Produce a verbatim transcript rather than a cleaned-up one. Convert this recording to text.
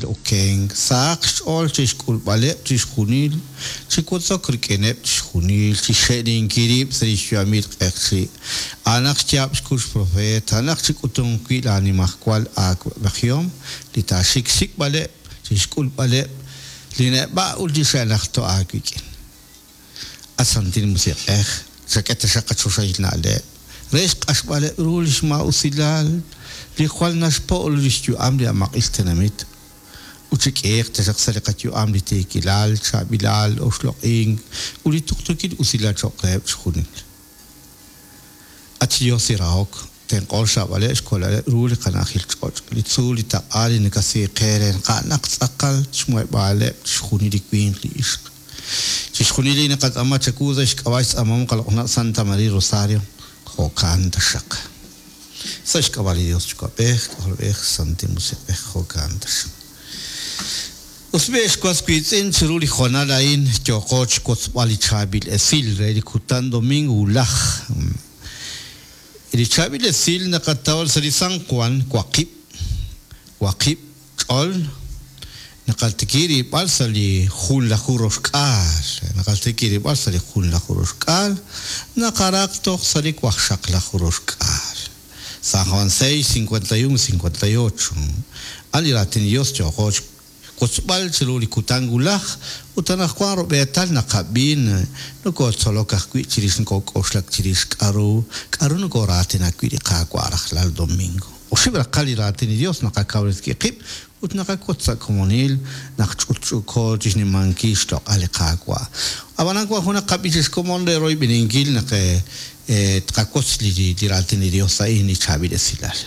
santil okenk, sahaq xch'ool chixk'ulb'aleb' chixjunil, chi wotzok rik'ineb' chixjunil, chixxe'ninkil rib' sa' li xyu'amil q'eqchi'. A'anaq xyaab' xkux profeet, a'anaq chik'utunq wi' laanimajwal aawa'b'ejihom, li taaxik xsik'b'aleb', chixk'ulb'aleb' li neb'a' ut li xe'najto' aawik'in. At Santil Musiq'ej, chak'e taxaq qachoxahil na'leb' re xq'axb'aleb' ru li xmaa'usilal li jwal naxpo' li xyu'am li amaq'il tenamit ut chik'iiq taxaq sa' li qayu'am li tiikilal, chaab'ilal, oxloq'ink ut li tuqtuukil usilal cho'q reheb' chixjunil. At Dios li rahok, tenq'o xraab'aleb' xkolaleb' ru li qana'ajil ch'och', li tzuul, li taq'a, li nakasiiqe re naq a'anaq tz'aqal xmuheb'aaleb' chixjunil li winq li ixq. Chixjunil li naqatz'aama chawu sa' xk'ab'a' xtz'aamahom qaloq'na' Santa María Rosario, jo'kan taxaq. Sa' xk'ab'a' li Dios Yuwa'b'ej, K'ajolb'ej, Santil Musiq'ej, jo'kan taxaq. Us b'e xwas wiitz'in chiru li hoonal a'in yooqo xwotzb'al li chaab'il esil re li kutan domingo wulaj. Li chaab'il esil naqataw sa' li San Juan waqib' waqib' ch'ol naqaltiki rib'al sa' li junlaju roxk'aal naqaltiki rib'al sa' li junlaju roxk'aal naqaraq toj sa' li waqxaqlaju roxk'aal. San Juan seis, cincuenta y uno, cincuenta y ocho. A'an li raatin Dios yooqo xwotzb'al chiru li kutan wulaj ut anaqwan rub'eetal naqab'in nokotzolok ajwi' chirix nokok'oxlak chirix k'aru k'aru nokoraatinak wi' li Qaawa' rajlal domingo. Oxib' raqal li raatin li Dios naqakawresi qib' ut naqak'ut sa' komonil naq ch'utch'uko chixnimankil xloq'al li Qaawa'. Ab'anan wan junaq qab'i chixkomon re royb'eninkil naq tqakotz li li raatin li Dios a'in li chaab'il esilal.